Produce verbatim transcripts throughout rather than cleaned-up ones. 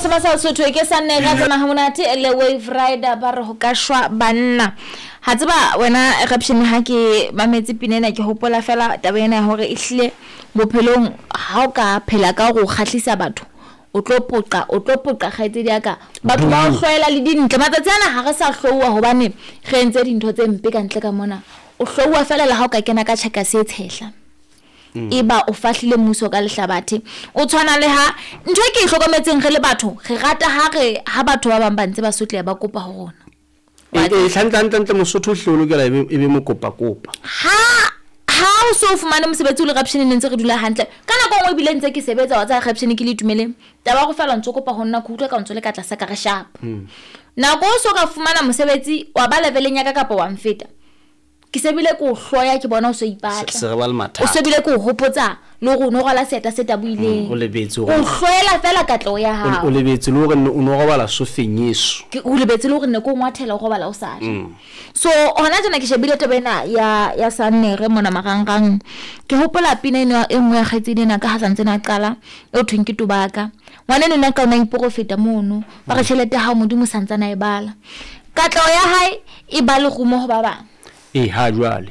Sema sa Sotho ke sa nne ka tsena ha monate le Wave Rider ba re ho ka shwa banna. Ha tseba wena Eruption ha ke mametse pina ena ke hopola fela taba ena ya hore ehlile bophelong ha o ka phela ka hore o kgahlisa batho o tlo poqa o tlo poqa kgaitsedi ya ka. Batho ba o hloela le dintle. Matsatsi ana ha re sa hlouwa hobane re entse dintho tse mpe ka ntle ka mona. O hlouwa fela le ha o ka kena ka tjhekase e tshehla. E ba o fahlile mmuso ka lehlabathe. O tshwana le ha ntho e ke e hlokometseng re le batho re rata ha re ha batho ba bang ba ntse ba sotleha ba kopa ho rona. E e hantle hantle hantle Mosotho o hle o lokela e be e be mokopa-kopa. Ha ha o so fumane mosebetsi o le Eruption ne ntse re dula hantle. Ka nako e nngwe ebile ntse ke sebetsa wa tseba Eruption ke le itumeleng. Taba ya hore feela o ntso kopa ho nna ke utlwa ka ntso le ka tlasa ka re sharp. Nako o so ka fumana mosebetsi wa ba leveleng ya ka kapa wa mfeta. Ke se bile ke o hloya ke bona o so ipatla. Se re ba le mathata. O se bile ke o hopotsa le hore o no rwala seeta se tabohileng. O lebetse O hloela fela katleho ya hao. O lebetse le hore o no robala sofeng eso. Ke o lebetse le hore ne ke o ngwathela o robala o sa ja. So hona tjena ke shebile taba ena ya ya Sannere mona marangrang. Ke hopola pina ena e nngwe ya kgaitsedi ena ka ha santse na qala e thweng ke Tobaka. Ngwana eno nna ka ona iporofeta mono. Ba re tjhelete ya hao Modimo santsana e bala. Katleho ya hae e ba lerumo ho ba bang. E ha jwale.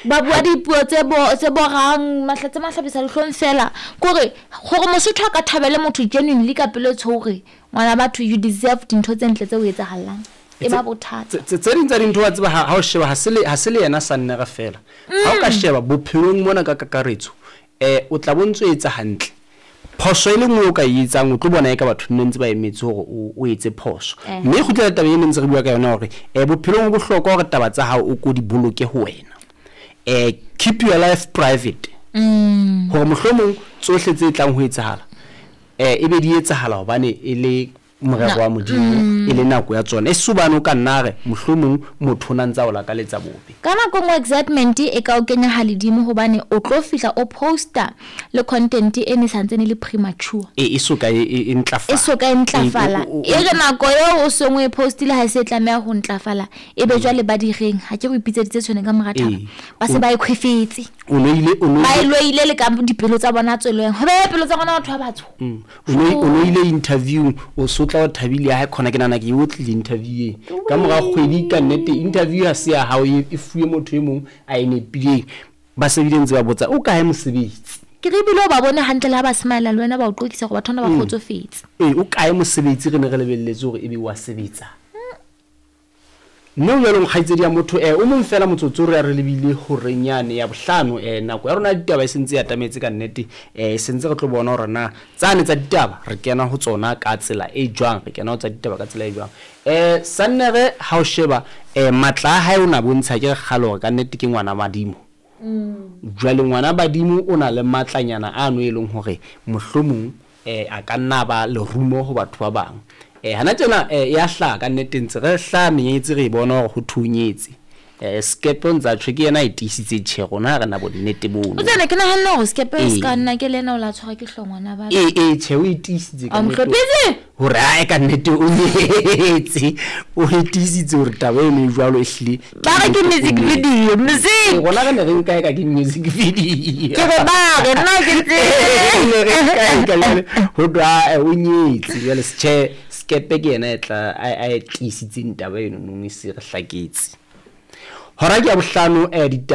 Ba bua dipuo tse bo tse borang mahlatse mahlabisa dihlong fela kore hore Mosotho a ka thabele motho genuinely ka pelo tshore ngwana batho you deserve dintho tse ntle tse o etsahalang e ba bothata. Tse tse ding tsa dintho wa tseba ha o sheba ha se le ha se le yena Sannere fela. Ha o ka sheba bophelong mona ka kakaretso eh o tla bontso etsa hantle. Phoso e le nngwe o ka e etsang o tlo bona e ka batho nne ntse ba emetse hore o o etse phoso. Mme kgutlela taba e ne ntse re bua ka yona hore eh bophelong bo bohlokwa hore taba tsa hao o ko di boloke ho wena. Eh keep your life private. Mm. Hore mohlomong tsohle tse tlang ho etsahala eh e be di etsahala hobane e le morero wa Modimo e le nako ya tsona. E subane o ka nna re mohlomong motho o na ntsa o lakaletsa bobe. Ka nako nngwe excitement e ka o kenya haledimo hobane o tlo fihla o poster le content e ne santse ne le premature. E e soka e e ntlafala. E soka e ntlafala. E re nako eo o sengwe e postile ha se tlameha ho ntlafala e be jwale ba direng ha ke go ipitseditse tshwane ka mora thaba. Ba se ba e khwefetse. O loile o loile. Ba e loile le ka dipelo tsa bona tsweleng. Ho be pelo tsa rona batho ba batsho. O o loile interview o sotla o thabile ha khona ke nana ke o tlile interview ka mora kgwedi ka nnete interview ha se ya hao e fuwe motho e mong a e nepileng ba sebile ntse ba botsa o kae mosebetsi. Ke re bile o ba bone hantle ha ba smile le wena ba o qoqisa gore batho ba kgotsofetse. Eh o kae mosebetsi re ne re lebelletse hore ebe wa sebetsa. Mme o jwalo kgaitsedi ya motho eh o mong fela motsotso re re lebile hore nyane ya bohlano eh nako ya rona ditaba e sentse ya tametse ka nnete eh sentse re tlo bona hore na tsane tsa ditaba re kena ho tsona ka tsela e jwang re kena ho tsa ditaba ka tsela e jwang. Eh Sannere ha o sheba eh matla a hae o na bontsha ke kgalo hore ka nnete ke ngwana madimo. Jwale ngwana badimo o na le matlanyana a no e leng hore mohlomong eh a ka nna ba lerumo ho batho ba bang. Eh hana tjena eh ya hla ka nnete ntse re hla menyetsi re bona hore ho thunyetse. Eh skepe ntsa tjhe ke yena e tiisitse tjhe rona ha re na bonnete bono. O tsena ke nahana hore skepe se ka nna ke lena o la tshwara ke hlongwana ba. Eh eh tjhe o e tiisitse ka nnete. Hore a ka nnete o nyetse. O e tiisitse hore taba eno e jwalo ehlile. Ba re ke music video, music. Rona re ne re nka e ka ke music video. Ke re ba re nna ke ntse. Ne re nka e ka jwale ho twa o nyetse jwale tjhe skepe ke yena e tla a e tiisitseng taba eno nong e se re hlaketse. Hora ke ya bohlano eh ditaba